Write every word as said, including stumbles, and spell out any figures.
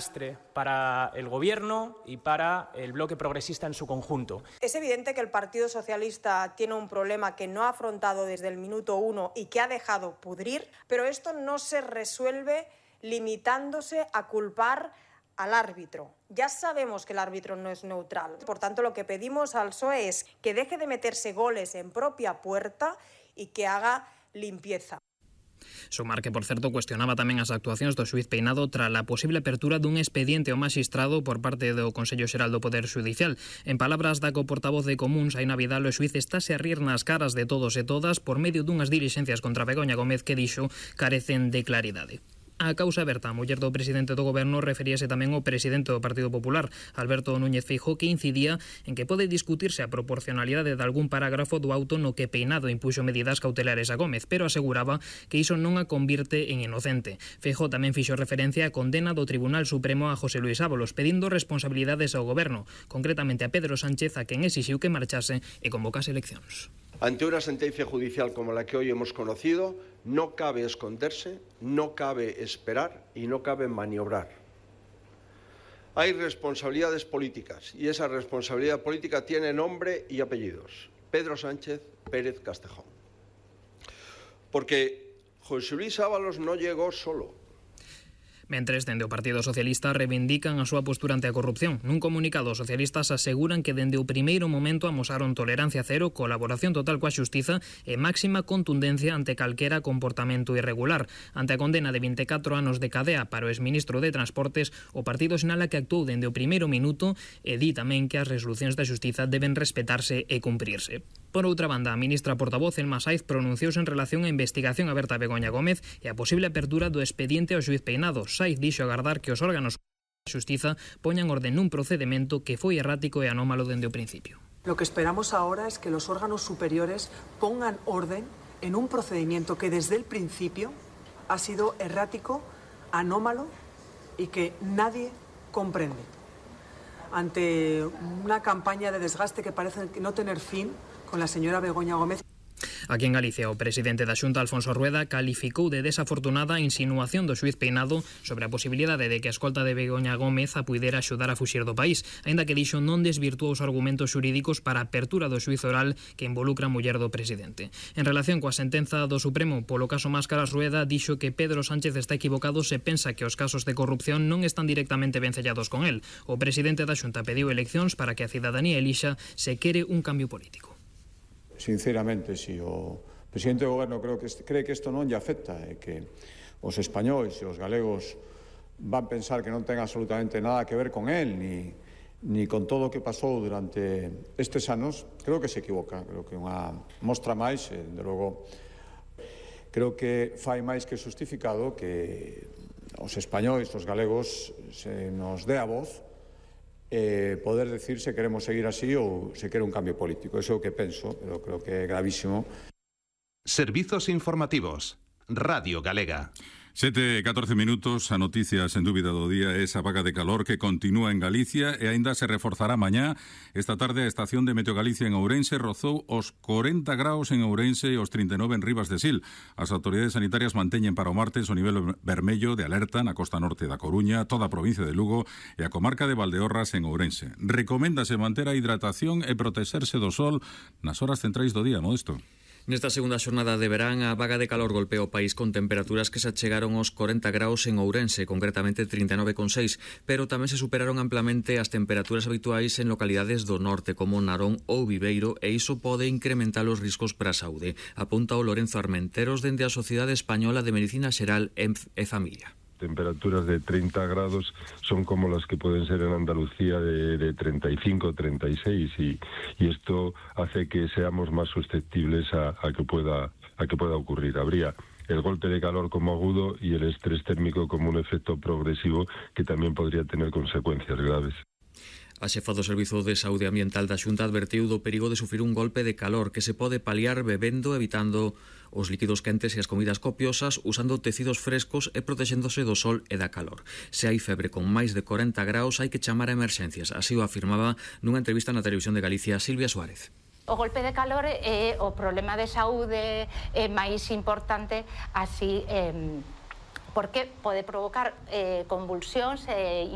lastre para el Gobierno y para el bloque progresista en su conjunto. Es evidente que el Partido Socialista tiene un problema que no ha afrontado desde el minuto uno y que ha dejado pudrir, pero esto no se resuelve limitándose a culpar al árbitro. Ya sabemos que el árbitro no es neutral. Por tanto, lo que pedimos al P S O E es que deje de meterse goles en propia puerta y que haga limpieza. Sumar que, por certo, cuestionaba tamén as actuacións do xuíz Peinado tras a posible apertura dun expediente ao magistrado por parte do Consello Xeral do Poder Xudicial. En palabras da co-portavoz de Comuns, Aina Vidal, o xuíz estáse a rir nas caras de todos e todas por medio dunhas dilixencias contra Begoña Gómez que dixo carecen de claridade. A causa aberta, a muller do presidente do goberno referíase tamén ao presidente do Partido Popular, Alberto Núñez Feijóo, que incidía en que pode discutirse a proporcionalidade de algún parágrafo do auto no que Peinado impuxo medidas cautelares a Gómez, pero aseguraba que iso non a convirte en inocente. Feijóo tamén fixo referencia á condena do Tribunal Supremo a José Luis Ábalos, pedindo responsabilidades ao goberno, concretamente a Pedro Sánchez, a quen exixiu que marchase e convocase eleccións. Ante una sentencia judicial como la que hoy hemos conocido, no cabe esconderse, no cabe esperar y no cabe maniobrar. Hay responsabilidades políticas y esa responsabilidad política tiene nombre y apellidos. Pedro Sánchez Pérez Castejón. Porque José Luis Ábalos no llegó solo. Mentres, dende o Partido Socialista reivindican a súa postura ante a corrupción. Nun comunicado, os socialistas aseguran que dende o primeiro momento amosaron tolerancia cero, colaboración total coa xustiza e máxima contundencia ante calquera comportamento irregular. Ante a condena de vinte e catro anos de cadea para o exministro de Transportes, o partido sinala que actuou dende o primeiro minuto e di tamén que as resolucións da xustiza deben respetarse e cumprirse. Por outra banda, a ministra portavoz Elma Saiz pronunciouse en relación á investigación aberta a Begoña Gómez e a posible apertura do expediente ao xuíz Peinado. Saiz dixo agardar que os órganos da xustiza poñan orden nun procedemento que foi errático e anómalo dende o principio. Lo que esperamos ahora es que los órganos superiores pongan orden en un procedimiento que desde el principio ha sido errático, anómalo y que nadie comprende. Ante una campaña de desgaste que parece no tener fin con la señora Begoña Gómez. Aquí en Galicia, o presidente da Xunta, Alfonso Rueda, calificou de desafortunada a insinuación do xuíz Peinado sobre a posibilidade de que a escolta de Begoña Gómez a puidera axudar a fuxir do país, aínda que dixo non desvirtuou os argumentos xurídicos para a apertura do xuízo oral que involucra a muller do presidente. En relación coa sentenza do Supremo polo caso Máscaras, Rueda dixo que Pedro Sánchez está equivocado se pensa que os casos de corrupción non están directamente vencellados con el. O presidente da Xunta pediu eleccións para que a cidadanía elixa se quere un cambio político. Sinceramente, si o presidente do goberno creo que cree que isto non lle afecta e que os españois e os galegos van pensar que non ten absolutamente nada que ver con él ni, ni con todo o que pasou durante estes anos, creo que se equivoca. Creo que unha mostra máis, e, de logo, creo que fai máis que justificado que os españois, os galegos, se nos dé a voz Eh, poder decir se queremos seguir así ou se quere un cambio político. Eso é o que penso, pero creo que é gravísimo. Servizos informativos. Radio Galega. Sete e catorce minutos, a noticia sen dúbida do día é esa vaga de calor que continúa en Galicia e aínda se reforzará mañá. Esta tarde a estación de Meteo Galicia en Ourense rozou os corenta graus en Ourense e os trinta e nove en Ribas de Sil. As autoridades sanitarias manteñen para o martes o nivel vermello de alerta na costa norte da Coruña, toda a provincia de Lugo e a comarca de Valdeorras en Ourense. Recoméndase manter a hidratación e protexerse do sol nas horas centrais do día, Modesto. Nesta segunda xornada de verán, a vaga de calor golpea o país con temperaturas que se achegaron aos corenta graus en Ourense, concretamente trinta e nove coma seis, pero tamén se superaron amplamente as temperaturas habituais en localidades do norte, como Narón ou Viveiro, e iso pode incrementar os riscos para a saúde, apunta o Lorenzo Armenteros dende a Sociedade Española de Medicina Xeral e Familia. Temperaturas de treinta grados son como las que pueden ser en Andalucía de, de treinta y cinco, treinta y seis y, y esto hace que seamos más susceptibles a, a que pueda a que pueda ocurrir. Habría el golpe de calor como agudo y el estrés térmico como un efecto progresivo que también podría tener consecuencias graves. A xefa do Servizo de Saúde Ambiental da Xunta advertiu do perigo de sufrir un golpe de calor que se pode paliar bebendo, evitando os líquidos quentes e as comidas copiosas, usando tecidos frescos e protexéndose do sol e da calor. Se hai febre con máis de corenta graus, hai que chamar a emerxencias. Así o afirmaba nunha entrevista na Televisión de Galicia Silvia Suárez. O golpe de calor é o problema de saúde é máis importante, así eh, porque pode provocar eh, convulsións e